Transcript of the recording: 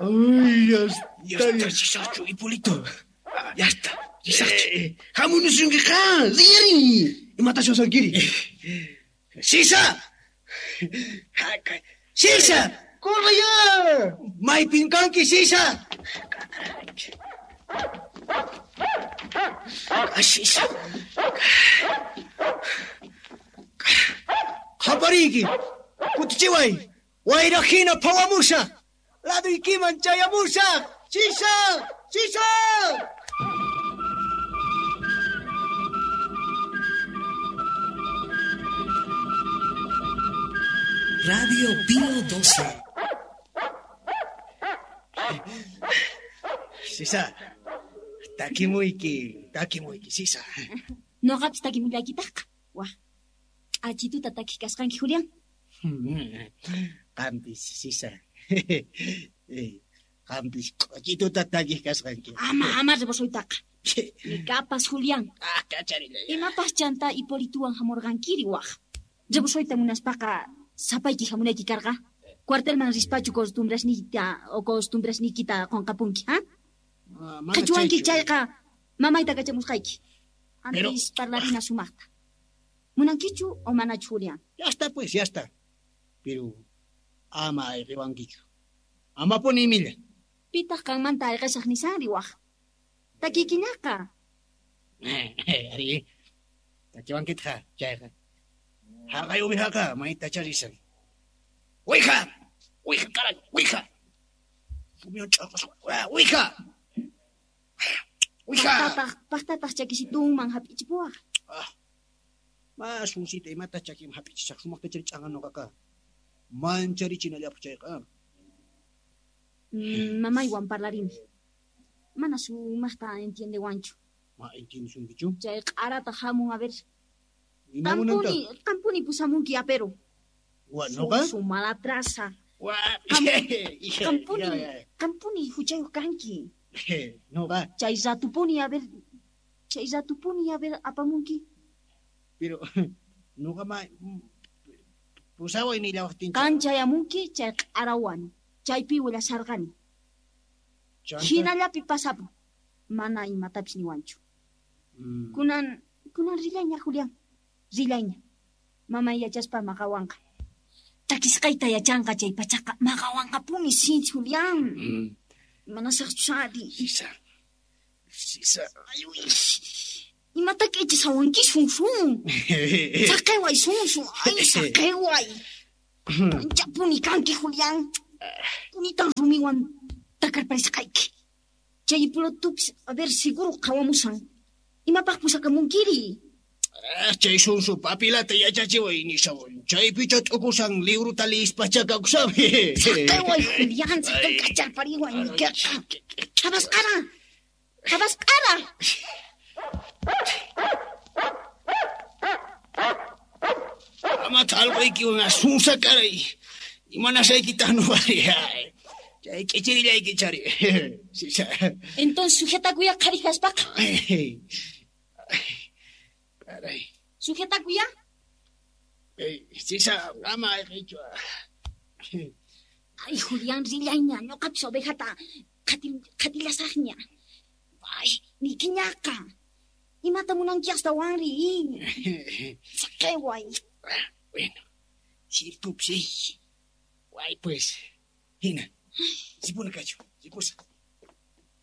Ay, ya está. Ya está, risaqchu, Hipólito. Ya está, risaqchu. Hamunusunkiqa, riyari. Imatash wasankiri? Sisa! Sisa! ¡Corre ya! Maypin kanki, Sisa! Sisa! Qapariyki, kutichiway. Wayra hina phawamusaq. Laduykiman chayamusaq. Sisa! Sisa! Radio Pío 12. Sisa, takimuyki, takimuyki, Sisa. Noqapis takimullaykitaqqa. Wah. K'achituta takiq kasqanki, Julián. Qampis, Sisa. Qampis k'achituta takiq kasqanki. Ama, ama rebosoytaqa. Nikapas, Julián. Ah, kacharillay. Imapas chanta Hipolituwan hamurqankiri wah. Rebosoyta munaspaqa sapayki hamunayki karqa. Cuartelman rispachu costumbrasniyta o costumbrasniykita qunqapunki, ha? Ah, mana Qichwanki chaychu. chayqa mamayta kachamusqayki. Pero- Antes parlarina sumaqta. Munankichu o manachu, Julián? Ya está, pues, ya está. Pero ama ayqiwankichu. Amapuni imilla. Pitaq qanmanta ayqisaq nisanri wah. Takiykiñaqa. Ari, takiwankitqa chayqa. Haqay uwihaqa maytacha risan. ¡Uwija! ¡Uwija, caray! ¡Uwija! Sumiwan ch'aqasqa. ¡Uwija! ¡Uwija! Paqtataq, paqtataq chakisitunman hap'ichipuwaq. Ma sunsita imata chakiman hap'ichisaq sumaqta chari ch'anqa nuqaqa. Mancharichinallapaq chayqa. Mamaywan parlarini. Mana sumaqta entiendewanchu. Ma entiendesunkichu? Chay q'arata hamun a ver. Ima munanta? Qampuni, qampuni pusamunki apero. Wa, nuqa? Su malatraza. Wa, Qampuni, Ya, ya. qampuni huchayuq kanki. Nuqa, Chay ratupuni a ver, chay ratupuni a ver apamunki. pero nuqa ma pusaway nillawaqtincha. Qan chayamunki chay q'arawan. Chaypi willasharqani. Chanta? Hinallapi pasapun. Mana imatapis niwanchu. Kunan, kunan rillayña, Julián. Rillayña. Mamay yachaspa maqawanqa. Takisqayta yachanqa chay pachaqa maqawanqapuni sinchi, Julián. Manasaqchu sari. Sisa. Sisa. Ay, uy. Imata k'ichisawanki, sunsun. Saqiway, sunsun. Ay, saqiway. Anchapuni kanki, Julián. Punitan rumiwan takarparisqayki. Chay Hipólitopis, a ver, seguro qhawamusan. Imapaq pusakamunkiri? Ah, chay sunsu papilata yachachiway nishawan. Chaypicha t'ukusan liwruta liyispacha kawsami. Saqiway, Julián, saqiway kacharpariway niykiqa. Habasqara. Habasqara. Ama t'alqaykiwan asunsa karay. Imanasaykitaq nuqari. Chay k'ichirillayki chari. Sisa. Entonces sujetakuya qhari kaspaqa. Caray. Sujetakuya. Sisa, ama ayqiychu. Ay, Julián, rillayña, ñuqapis ovejata qatillasaqña. Ay, niykiñaqa. Imata munanki astawanri? Saqiway. Bueno, sirtupsi. Way pues. Hina. Sipuna kachu. Sipusa.